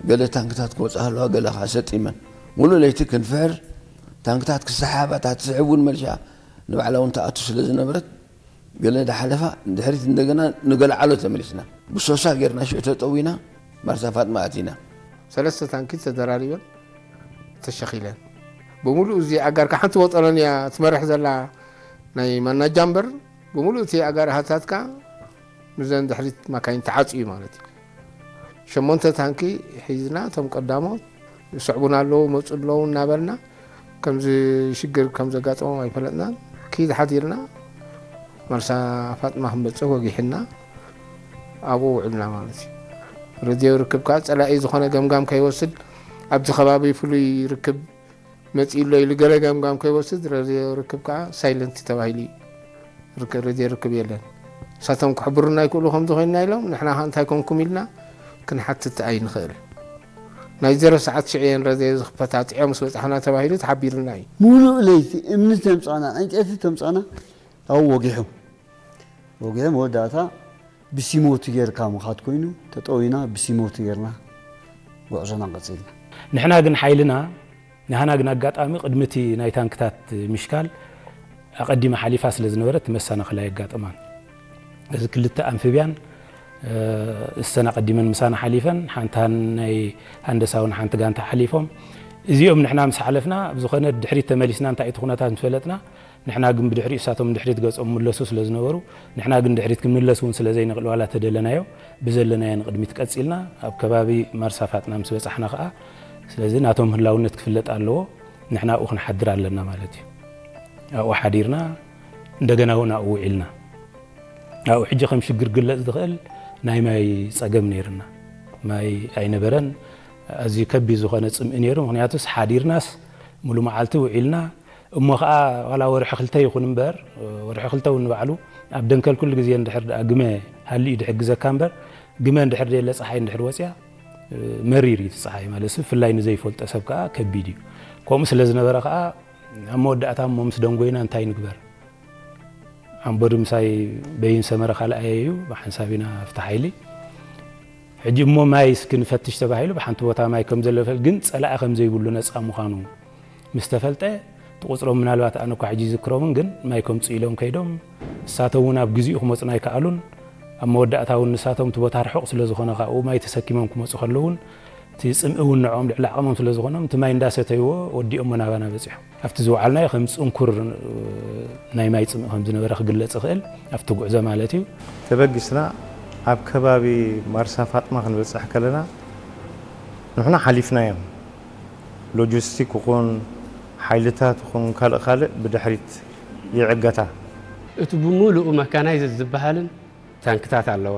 ገለ ታንክታት ክወፃ ኣለዋ፣ ገለ ከዓ ሰጢመን። ሙሉእ ለይቲ ክንፍሕር፣ ታንክታት ክሰሓባ፣ እታ ትስሕብ እውን መልሻ ንባዕላ እውን ትኣቱ ስለ ዝነበረት፣ ገለ ዳሓለፋ ድሕሪት እንደገና ንገለዓሎ ተመሊስና። ብሶሳ ጌርና ሽዑ ተጠዊና ማርሳ ፋጥማ ኣቲና። ሰለስተ ታንኪ ተደራሪበን ተሸኺለን። ብምሉእ እዚ ኣጋር ሓንቲ ወጠረን እያ ትመርሕ ዘላ ናይ ማናጃ እምበር፣ ብምሉእ እቲ ኣጋር ሃታትካ ምስዘን ድሕሪት ማካይን ተዓጽዩ ማለት እዩ። ሸሞንተ ታንኪ ሒዝና፣ እቶም ቀዳሞት ይስዕቡና ኣለዉ፣ መጹ ኣለዉ እናበልና፣ ከምዚ ሽግር ከም ዘጋጠሞም ኣይፈለጥናን። ኪድ ሓዲርና፣ ማርሳ ፋጥማ ክንበጽሕ ወጊሕና፣ ኣብኡ ውዕልና ማለት እዩ። ረድዮ ርክብ ከኣ ጸላኢ ዝኾነ ገምጋም ከይወስድ፣ ኣብዚ ከባቢ ፍሉይ ርክብ መጺኡ ኣሎ ኢሉ ገለ ገምጋም ከይወስድ፣ ረድዮ ርክብ ከኣ ሳይለንት ተባሂሉ እዩ። ርክ-፣ ረድዮ ርክብ የለን። ንሳቶም ክሕብሩና ይክእሉ ከም ዝኾንና ኢሎም፣ ንሕና ከኣ እንታይ ኮንኩም ኢልና ክንሓትት ኣይንኽእል። ናይ ዜሮ ሰዓት ሽዑ እየን ረድዮ ዝኽፈታ፣ ጥዕዮም ምስ በጻሕና ተባሂሉ ተሓቢሩና እዩ። ሙሉእ ለይቲ እምኒ ተምጻና፣ ዕንጨይቲ ተምጻና፣ ኣብኡ ወጊሖም። ወጊሖም መወዳእታ ብሲሞቲ ጌርካ ምኻድ ኮይኑ፣ ተጠዊና ብሲሞቲ ጌርና ጉዕዞና ቀጺልና። ንሕና ግን ሓይልና፣ ንሕና ግን ኣጋጣሚ ቅድሚ እቲ ናይ ታንክታት ምሽካል ኣቐዲማ ሓሊፋ ስለ ዝነበረት፣ እቲ መሰናኽል ኣየጋጠማን። እዚ ክልተ ኣምፊብያን፣ እ፣ እሰን ኣቐዲመን ምሳና ሓሊፈን፣ ሓንቲ ናይ ሃንደሳውን ሓንቲ ጋንታ ሓሊፎም። እዚኦም ንሕና ምስ ሓለፍና፣ ብዝኾነ ድሕሪት ተመሊስና እንታይ እቲ ኩነታት ምስ ፈለጥና፣ ንሕና ግን ብድሕሪት፣ እሳቶም ድሕሪት ገጾም ምለሱ ስለ ዝነበሩ፣ ንሕና ግን ድሕሪት ክንምለስ እውን ስለ ዘይንኽእል፣ ዋላ ተደለናዮ፣ ብዘለናዮ ንቕድሚት ቀጺልና፣ ኣብ ከባቢ ማርሳ ፋጥና ምስ በጻሕና ኸኣ፣ ስለዚ ናቶም ህላውነት ክፍለጥ ኣለዎ፣ ንሕና ኣብኡ ክንሓድር ኣለና ማለት እዩ። ኣብኡ ሓዲርና፣ እንደገና እውን ኣብኡ ውዒልና። ኣብኡ ሕጂ ከም ሽግር ክግለጽ ዝኽእል ናይ ማይ ጸገም ነይርና። ማይ ኣይነበረን። ኣዝዩ ከቢድ ዝኾነ ጽምኢ ነይሩ። ምኽንያቱስ ሓዲርናስ ሙሉ መዓልቲ ውዒልና፣ እሞ ኸኣ ዋላ ወርሒ ክልተ ይኹን እምበር፣ ወርሒ ክልተ እውን ንባዕሉ ኣብ ደንከል ኩሉ ግዜ እንድሕር ደኣ ግመ ሃልዩ ድሕግዘካ እምበር፣ ግመ እንድሕር ደየለ፣ ጸሓይ እንድሕር ወጽያ፣ መሪር እዩ እቲ ጸሓይ ማለት፣ ብፍላይ ንዘይፈልጦ ሰብ ከኣ ከቢድ እዩ። ከምኡ ስለ ዝነበረ ከኣ ኣብ መወዳእታ እሞ ምስ ደንጎይና እንታይ ንግበር? ኣምቦዲ ምሳይ በይን ሰመረ ካልኣየ እዩ፣ ብሓንሳብ ኢና ኣብቲ ሓይሊ። ሕጂ እሞ ማይ እስኪ ንፈትሽ ተባሂሉ፣ ብሓንቲ ቦታ ማይ ከም ዘሎ ይፈል-፣ ግን ጸላኢ ከም ዘይብሉ ነጻ ምዃኑ ምስ ተፈልጠ፣ እቲ ቁጽሮም ምናልባት ኣነ እኳ ሕጂ ይዝክሮምን፣ ግን ማይ ከምጽኡ ኢሎም ከይዶም፣ ንሳቶም እውን ኣብ ግዜኡ ክመጹና ኣይከኣሉን። ኣብ መወዳእታ እውን ንሳቶም እቲ ቦታ ርሑቕ ስለ ዝኾነ፣ ካብኡ ማይ ተሰኪሞም ክመጹ ከለዉ እውን፣ እቲ ጽምኢ እውን ንዕኦም ልዕሊ ዓቕሞም ስለ ዝኾኖም፣ እቲ ማይ እንዳሰተይዎ ወዲኦሞ ናባና በጺሖም። ኣብቲ ዝወዓልናዮ ከም ጽንኩር ናይ ማይ ጽምኢ ከም ዝነበረ ክግለጽ ይኽእል፣ ኣብቲ ጉዕዞ ማለት እዩ። ተበጊስና ኣብ ከባቢ ማርሳ ፋጥማ ክንበጽሕ ከለና፣ ንሕና ሓሊፍናዮም። ሎጂስቲክ ይኹን፣ ሓይልታት ይኹን፣ ካልእ ካልእ ብድሕሪት ይዕገታ። እቲ ብምሉኡ መካናይዝድ ዝበሃልን ታንክታት ኣለዋ፣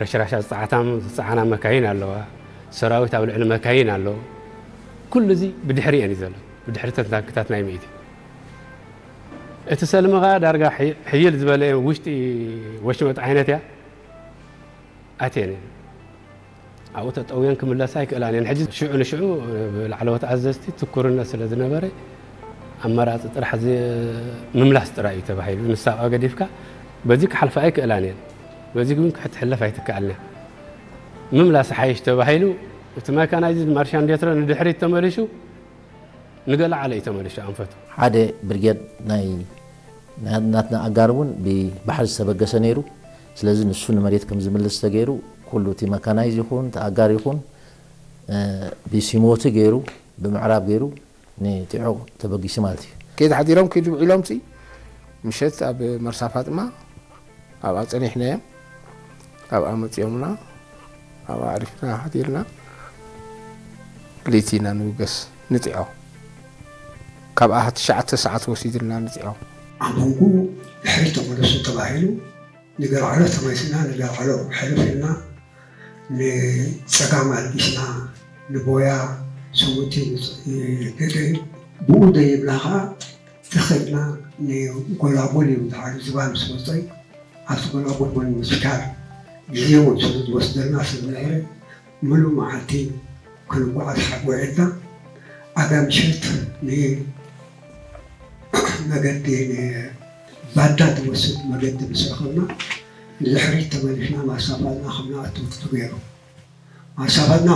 ረሽራሻት ዝጸዓታ፣ ዝጸዓና መካይን ኣለዋ፣ ሰራዊት ኣብ ልዕሊ መካይን ኣሎ። ኩሉ እዚ ብድሕሪኤን እዩ ዘሎ፣ ብድሕሪ እተን ታንክታት ናይ ምእቲ። እቲ ሰልሚ ኸኣ ዳርጋ ሕይ-፣ ሕይል ዝበለ ውሽጢ ወሽመጥ ዓይነት እያ ኣትየን እየን። ኣብኡ ተጠውየን ክምለሳ ኣይክእላን እየን። ሕጂ ሽዑ ንሽዑ ብላዕለዎት ኣዘዝቲ ትኩርነት ስለ ዝነበረ፣ ኣማራጺ ጥራሕ ዚ-፣ ምምላስ ጥራይ እዩ ተባሂሉ። ንሳ ኣብኣ ገዲፍካ በዚ ክሓልፋ ኣይክእላን እየን። በዚ ግን ክትሕለፍ ኣይትከኣልን እያ። ምምላስ ሓይሽ ተባሂሉ፣ እቲ መካናይዝድ ማርሻን ዴትሮ ንድሕሪት ተመሊሱ፣ ንገለዓለ እዩ ተመሊሱ ኣንፈቱ። ሓደ ብርጌድ ናይ ና-፣ ናትና ኣጋር እውን ብባሕሪ ዝተበገሰ ነይሩ። ስለዚ ንሱ ንመሬት ከም ዝምልስ ተገይሩ፣ ኩሉ እቲ መካናይዝ ይኹን፣ እቲ ኣጋር ይኹን፣ እ፣ ብሲሞቲ ገይሩ፣ ብምዕራብ ገይሩ ንጢዖ ተበጊሱ ማለት እዩ። ከይድ ሓዲሮም ከይድ ውዒሎም ሲ፣ ምሸት ኣብ መርሳ ፋጥማ ኣብኣ ጸኒሕናዮም። ኣብኣ መጺኦምና፣ ኣብኣ ኣዕሪፍና ሓዲርና፣ ለይቲ ኢና ንብገስ ንጢዖ። ካብኣ ትሽዓተ ሰዓት ወሲድልና ንጢዖ። ኣብ መንጎ ድሕሪት ተመለሱ ተባሂሉ፣ ንገርዓሎ ተመሊስና፣ ንገርዓሎ ሕልፍ ኢልና፣ ንጸጋም ኣልጊስና፣ ንቦያ፣ ስሙቲ፣ ንጽ-፣ ንገደይ፣ ብኡ ደይብና ኸኣ ተኸድና ንጎላጉል እዩ፣ ደሓር ዝባን ምስ መጸ፣ ኣብቲ ጎላጉል እውን ምስካር ግዜ እውን ስለ ዝወስደልና ስለ ዝነበረ፣ ምሉእ መዓልቲ ክንጓዓዝ ሓ-፣ ውዒልና፣ ኣጋ ምሸት ንመገዲ ንባዳ ዝወስድ መገዲ ምስ ረኸብና፣ ንድሕሪት ተመሊስና ማሳፋልና ከም ንኣቱ ተገይሩ። ማሳፋልና